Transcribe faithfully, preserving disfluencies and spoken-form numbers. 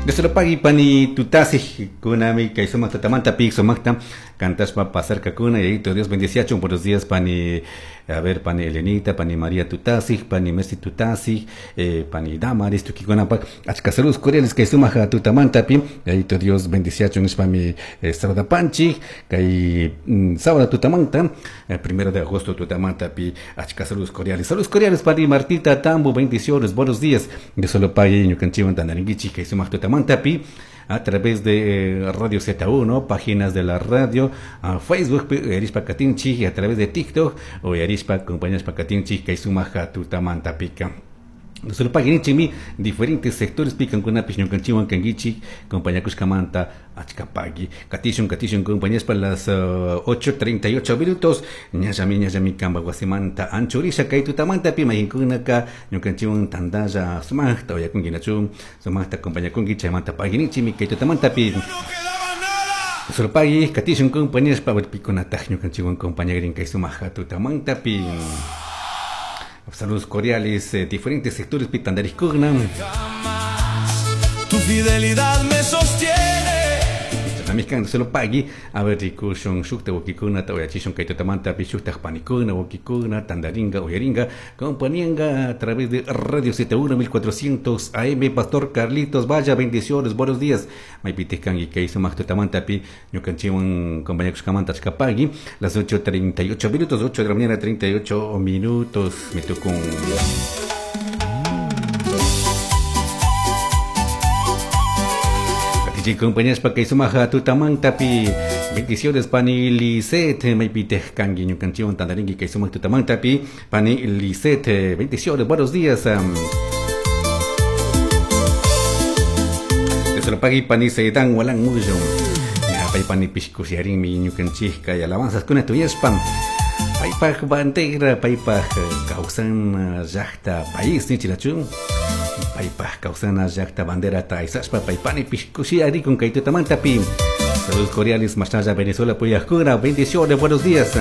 Dios pani tutasi kunami kay sumaq tutamanta pi sumaqta cantaspa pasarkakuna y Dios bendeciachun. Buenos días pani, a ver, pani Elenita, pani María Tutasi, pani Mercy Tutasi, eh, pani Damaris tukikunapak achka saludos cordiales kay sumaq tutamanta pi yayito Dios bendeciachun nishpami eh, saludapanchik kay mm, sábado tutamanta eh, primero de agosto tutamanta pi achka saludos cordiales. Saludos cordiales pani Martita Tambo, bendiciones, buenos días. Dios lo pague ñukanchikwan tandarinkichik kay sumaq tutamanta pi a través de eh, Radio Z uno, páginas de la radio, a Facebook, Arispa Katinchi, y a través de TikTok, o Arispa, compañías Pacatinchi, kay sumaq tutamanta pica. Solo paginichimi diferentes sectores pican con apis ñukanchiwan kangichi compañía Cuscamanta achkapagui katishun katishun compañías para las uh, ocho treinta y ocho minutos ñallami ñallami kamba wasimanta anchurisha kay tutamanta pi mahinkunaka ñukanchiwan tandalla sumaqta oyakunkinachun sumaqta compañía kunki chaymanta paginichimi kay tutamanta pi solo pagui katishun compañías pa pikunataq ñukanchiwan compañía kay sumaq tutamanta pi. Saludos cordiales, eh, diferentes sectores pitandariscogna. Tu fidelidad me sostiene. También se lo pagui a ver rikushun shukta wakikuna tawayachishun kaytutamanta pi shukta panikuna wakikuna tandaringa uyaringa compañía a través de Radio Z uno mil cuatrocientos A M. Pastor Carlitos Vaya, bendiciones, buenos días. Maipitescan y kay sumaq tutamanta pi ñukanchiwan compañía kushkamanta achkapagui las ocho treinta y ocho minutos, ocho de la mañana treinta y ocho minutos. Me tocó compañías pa kay sumaja tutamanta pi bendiciones pani Lisette maipitej kangi ñukanchiwan tandaringi kay sumaq tutamanta pi pani Lisette, bendiciones, buenos días. Desde pagui pani Sedan walan muyo ya pay pani pishkusiarinmi ñukanchik kay alabanzas kuna tuyaspa paypaj bandera paypaj kawsan llaqta país nichirachun paypaj kawsana llaqta bandera taysaspa paypani pishkushi con kay tutamanta pi. Saludos cordiales más allá Venezuela puyajkuna, bendiciones, buenos días.